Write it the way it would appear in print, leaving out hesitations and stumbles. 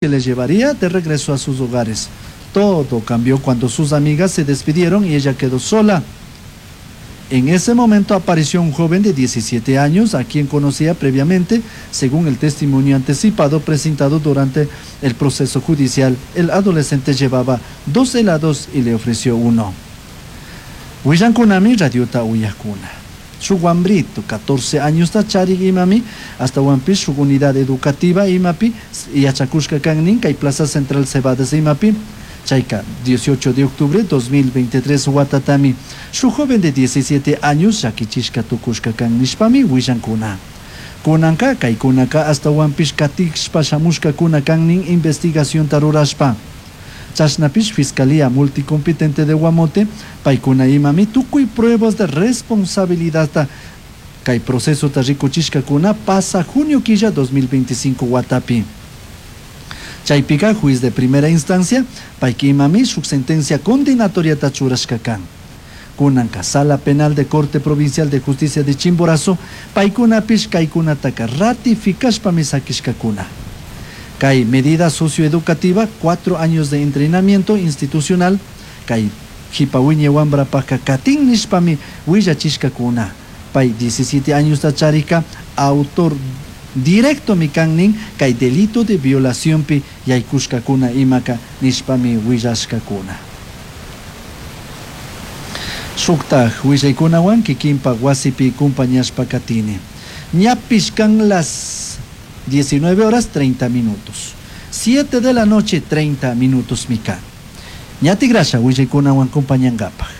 Que les llevaría de regreso a sus hogares. Todo cambió cuando sus amigas se despidieron y ella quedó sola. En ese momento apareció un joven de 17 años a quien conocía previamente, según el testimonio anticipado presentado durante el proceso judicial. El adolescente llevaba dos helados y le ofreció uno. Willancunami radiota uyajcuna. Shuk wambrito, 14 años charik imami, ashtahuanpish shuk unidad educativa imapi, yachacushka kan nin, kay Plaza Central Cebades imapi, chayka 18 de octubre 2023 watatami, shuk joven de 17 años llakichishka tucushka kan nishpami willancuna. Kunanka kaykunaka ashtahuanpish katishpa shamushkakuna kan nin investigacionta rurashpa. Chashnapish Fiscalía Multicompetente de Guamote, paicuna imami tucui pruebas de responsabilidad kay procesota rikuchishkakuna pasa junio quilla 2025 watapi. Chaypika juez de primera instancia, payka imami shuk sentencia condenatoriata churashka kan. Kunanka Sala Penal de Corte Provincial de Justicia de Chimborazo, paykunapish kaykunataka ratificashpami sakishkakuna. Kay medida socioeducativa, 4 años de entrenamiento institucional, kay jipa wiñay wambrapaka katin nishpami willachishkakuna. Pay 17 añosta charika autor directomi kan nin kay delito de violacionpi yaykushkakuna imaka nishpami willashkakuna. Shuktaj willaykunawan kikinpak wasipi kumpañashpa katini. Ñapish kan las 19 horas 30 minutos. 7 de la noche 30 minutos mi kan. Ña tigrasha willaykunawan kumpañankapaj.